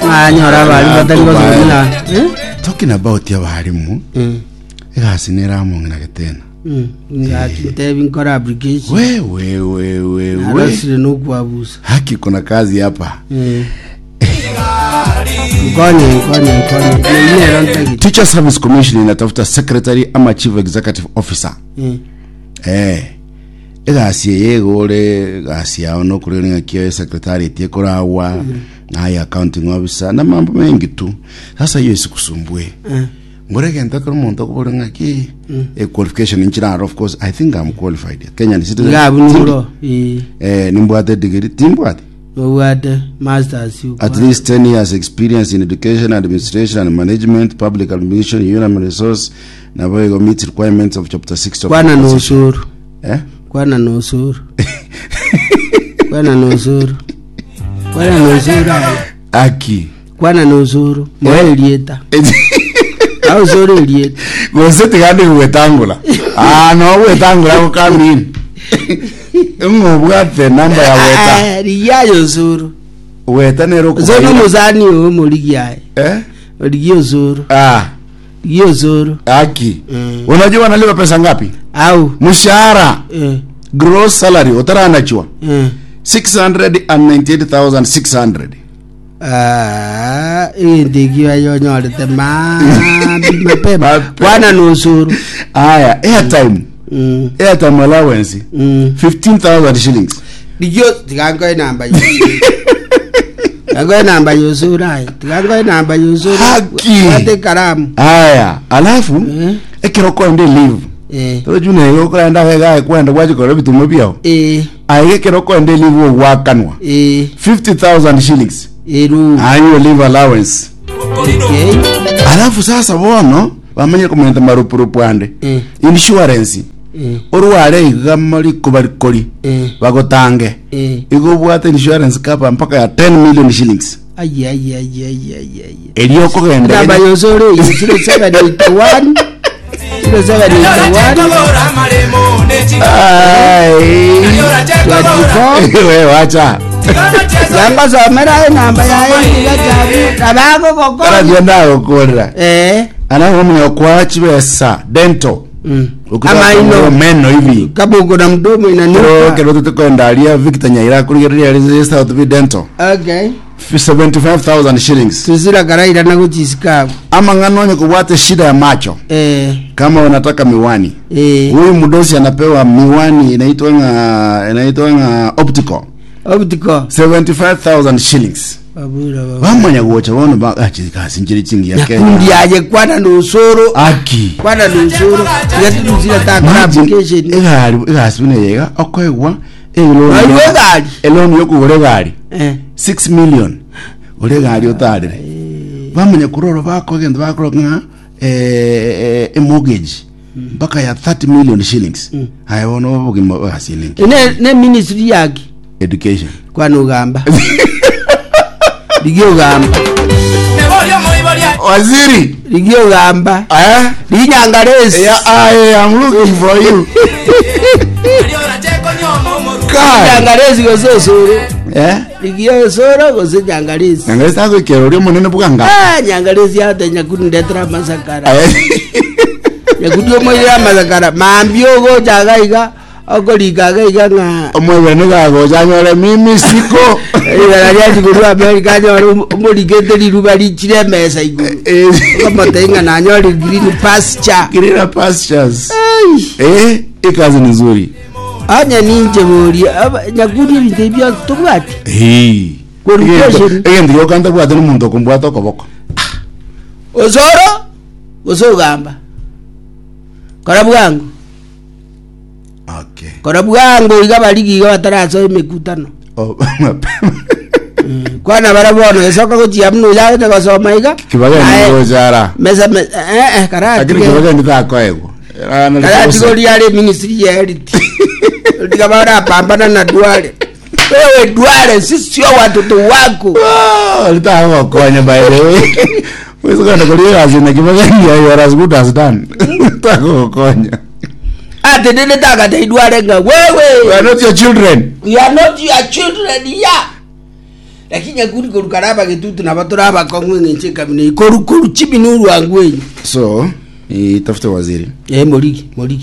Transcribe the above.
Ng'anyora abarimu batari gosoma na eh? Talking about abarimu, egasi nere among'ina getena. Ng'aki ntebi nkore application. We we we we we. Narosire nokwabusa. Haki kuna kazi hapa. Eh. Nkonye nkonye nkonye. Neyio nero ntagete. Teacher Service Commission inatafuta secretary ama chief executive officer. Eh. Eh. Egasi eye egore egasi yao nokorera ng'aki esecretariat ekoragwa naye accounting officer na mambo mengi tu. Sasa hiyo isikusumbue. Eh. Ngore egento ekero omonto okobora ng'aki eh, qualification nchiraro of course I think I'm qualified. Kenyan citizen. Iga abwo Tindi. noro. Eh. Eh, nimbwate degree timbwate. Obwate masters At least 10 years experience in education, administration and management, public administration, human resource, nabo igo meets requirements of chapter 6 of Kwana the Constitution. nosuru. Eh? Kwana nosuru. Kwana nosuru. Kwana nosuru aye. Aki. Kwana nosuru. Moe erieta. Ausore erieta. Gose tigande gwetangula. Ah, no gwetangula gokamini. Ng'obwate namba ya weta. Ah, Rigia aye osuru. Weta nero Osuru okubaira. omosani oyo omorigia aye. Eh? Rigia osuru. Ah, Rigia osuru. aki. Mm. Unajua wanalipa pesa ngapi? Au. Mshahara, Eh. gross salary utaranachwa Eh. 698,600. Ah, egento ekio aye onyorete maambi mapema Mapema. kwana nosuru Aya, airtime. Mm, Airtime allowance mm. 15,000 shillings. Rigio tiga nkoe namba yosuru tiga nkoe namba yosuru aye tiga nkoe namba yosuru Haki. bwate ekaramu Aya, alafu Eh. ekero okoenda leave. eh Toro juna igo okorenda gega kwenda gwachikora ebitumo biao. eh Aye ekero okoenda leave ogwakanwa eh 50,000 shillings. eru Annual leave allowance. okay Alafu sasa bono bamanye komenta marupurupu ande. Eh. Insurance. eh Orware iga mariko barikori. eh Bagotange. eh Igo obwate insurance cover mpaka ya 10 million shillings. aye aye aye aye aye aye Erio okogenda namba yosuru eyo 0781 0781 Ai. 24 Wewe wacha. yangosomera enamba yaye niga chabu nabagogokonya Karabia ndagokorera. eh Ana omunya kwa chibesa dental. mm. Ukitaka amaino meno hivi. kama uko na mdomo Kero inanuka kero tutekwenda aria Victor Nyaira kurigereria ari South B Dental. okay 75,000 shillings. tusira karaira na guchisikabu Ama ng'ano onye kubwate shida ya macho eh kama unataka miwani. eh Huyu mdosi anapewa miwani inaitwa nga inaitwa nga optical optical 75,000 shillings. babura babura Bamanya gocha bono ba achikasi njiri chingi ya nyakundi Kenya. aye kwana nusuru Aki. kwana nusuru tiga tusira takora Imagine, application egari egasi buna eyega okoegwa eloni Oigwe egari? eloni yokogora egari eh 6 million ore egari otarire bamanya kororo bakogenda bakora ng'a eh, emortgage mpaka ya 30 million shillings aye bono obogima egasi ninki ne ne ministry yake education kwana ugamba rigia ugamba waziri rigia ugamba eh rinyangaresi yeah, I am looking for you Kai. nyangaresi gose osoro eh rigia osoro gose nyangaresi nyangaresi tagoikera oria omonene bwanga Ah, nyangaresi ate nyakundi ndetera amasakara Eh. nyakundi omoirere amasakara mambia ogocha iga iga okorika iga iga ng'a omwebere nigagocha anyore mimi siko rigana riachi korwa America anyore omorigete riruba richire emesa igoro okomotebia ng'a nanyore green pasture Greener pastures Ei. eh ikazi ni nzuri Onye ninche boria aba- nyakundi ebinto ebi bionsi tobwati Hey. Qualification. egento gioka ntabwate nomonto okombwata okoboko osoro gose ogamba kora bwango okay kora bwango iga barigi iga batarasoa emekutano Oh, mapema kwana bara bono esoka gochia buna oyagete gosoma iga kibageni Aye, gochara mesa me- eh, eh, lakini karatige kibageni takoegwa karatige oria are ministry ya health tiga barapambana na Duale wewe Duale sisi sio watoto wako litagokonya by the way wezi kwenda kuria kazi na kibageni you are as good as done tagokonya ate nene takate Duale nga wewe we are not your children we are not your children yeah. Lakini Nyakundi koru kare abagetutu nabo tore abakong'u eng'encho ekabina eye koru koru chibini orwango enyu. So, itafute waziri. Eh morigi morigi.